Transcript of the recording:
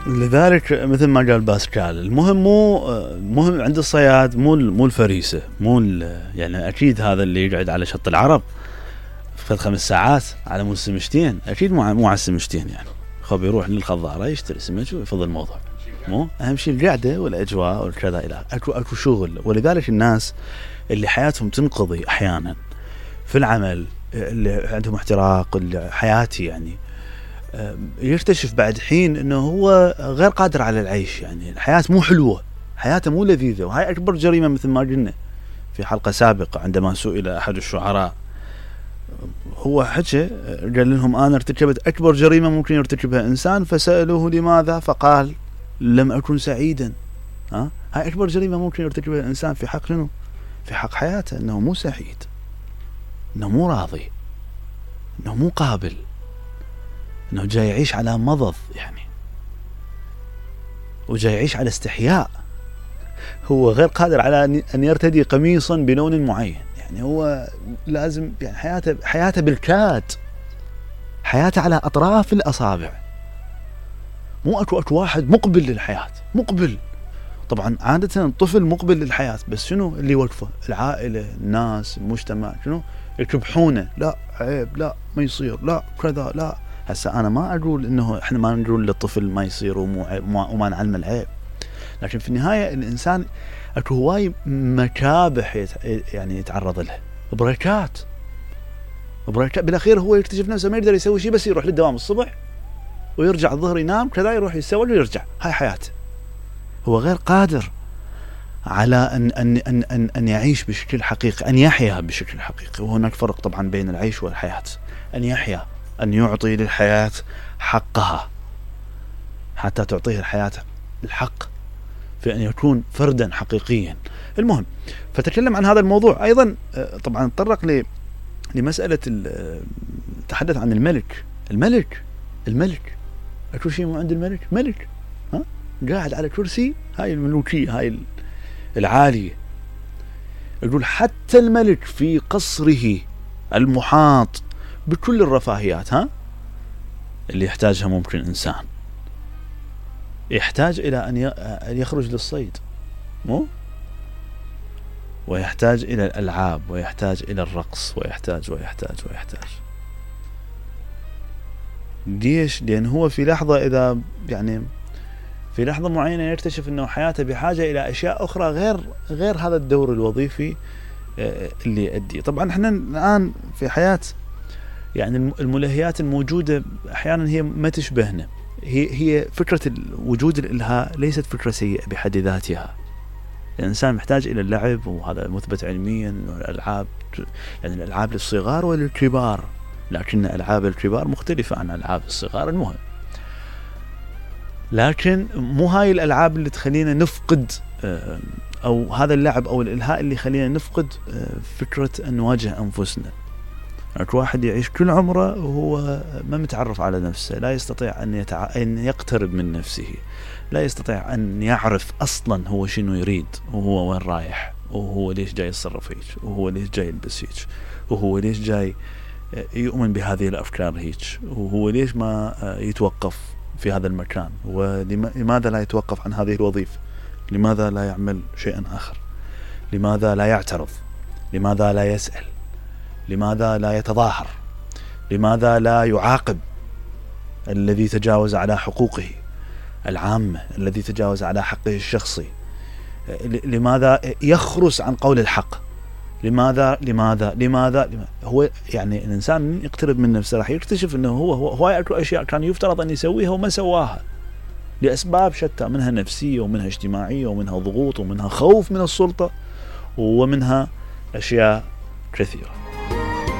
لذلك مثل ما قال باسكال، المهم مهم عند الصياد مو الفريسة، يعني أكيد هذا اللي يقعد على شط العرب فد 5 ساعات على مود سمشتين أكيد مو على السمشتين، يعني خب يروح للخضارة يشتري سمك ويفضل الموضوع. مو أهم شيء القعدة والأجواء والكذا إلى أكو شغل. ولذلك الناس اللي حياتهم تنقضي أحيانا في العمل، اللي عندهم احتراق حياتي، يعني يكتشف بعد حين انه هو غير قادر على العيش، يعني الحياة مو حلوة، حياته مو لذيذة. وهاي اكبر جريمة مثل ما قلنا في حلقة سابقة عندما سئل احد الشعراء، هو حكى قال لهم انا ارتكبت اكبر جريمة ممكن يرتكبها انسان، فسألوه لماذا فقال لم اكن سعيدا. هاي اكبر جريمة ممكن يرتكبها الانسان في حق شنو؟ في حق حياته، انه مو سعيد، انه مو راضي، انه مو قابل، انه جاي يعيش على مضض، يعني وجاي يعيش على استحياء. هو غير قادر على ان يرتدي قميصا بلون معين، يعني هو لازم، يعني حياته بالكاد، حياته على اطراف الاصابع. مو اكو واحد مقبل للحياة، مقبل. طبعا عادة الطفل مقبل للحياة، بس شنو اللي يوقفه؟ العائلة، الناس، المجتمع، شنو يكبحونه؟ لا عيب، لا ما يصير، لا كذا، لا. هسا انا ما اقول انه احنا ما نقول للطفل ما يصير وما نعلم العيب، لكن في النهاية الانسان اكو هواي مكابح يعني يتعرض لها، بريكات بالاخير هو يكتشف نفسه ما يقدر يسوي شيء، بس يروح للدوام الصبح ويرجع الظهر ينام كذا، يروح يتسوق ويرجع. هاي حياته. هو غير قادر على ان يعيش بشكل حقيقي، ان يحيا بشكل حقيقي. وهناك فرق طبعا بين العيش والحياة. ان يحيا، أن يعطي للحياة حقها، حتى تعطيه الحياة الحق في أن يكون فردا حقيقيا. المهم، فتكلم عن هذا الموضوع أيضا. طبعا تطرق لمسألة تحدث عن الملك. أكو شيء مو عند الملك؟ ملك قاعد على كرسي، هاي الملوكية، هاي العالية. يقول حتى الملك في قصره المحاط بكل الرفاهيات اللي يحتاجها ممكن إنسان، يحتاج إلى أن يخرج للصيد، مو؟ ويحتاج إلى الألعاب، ويحتاج إلى الرقص، ويحتاج. ليش؟ لأن هو في لحظة، إذا يعني في لحظة معينة يكتشف أنه حياته بحاجة إلى أشياء أخرى غير هذا الدور الوظيفي اللي يؤدي. طبعا احنا الآن في حياة، يعني الملهيات الموجودة أحيانا هي ما تشبهنا. هي فكرة وجود الإلهاء ليست فكرة سيئة بحد ذاتها. الإنسان محتاج إلى اللعب، وهذا مثبت علميا. الألعاب، يعني الألعاب للصغار وللكبار، لكن ألعاب الكبار مختلفة عن ألعاب الصغار. المهم، لكن مو هاي الألعاب اللي تخلينا نفقد، أو هذا اللعب أو الإلهاء اللي يخلينا نفقد فكرة أن نواجه أنفسنا. واحد يعيش كل عمره وهو ما متعرف على نفسه، لا يستطيع أن يقترب من نفسه، لا يستطيع أن يعرف أصلا هو شنو يريد، وهو وين رايح، وهو ليش جاي يتصرف هيك، وهو ليش جاي يلبس هيك، وهو ليش جاي يؤمن بهذه الأفكار هيك، وهو ليش ما يتوقف في هذا المكان، ولماذا لا يتوقف عن هذه الوظيفة، لماذا لا يعمل شيئا آخر، لماذا لا يعترض، لماذا لا يسأل، لماذا لا يتظاهر، لماذا لا يعاقب الذي تجاوز على حقوقه العامة، الذي تجاوز على حقه الشخصي، لماذا يخرس عن قول الحق، لماذا هو يعني الإنسان من يقترب من نفسه راح يكتشف أنه هو أكو أشياء كان يفترض أن يسويها وما سواها لأسباب شتى، منها نفسية ومنها اجتماعية ومنها ضغوط ومنها خوف من السلطة ومنها أشياء كثيرة.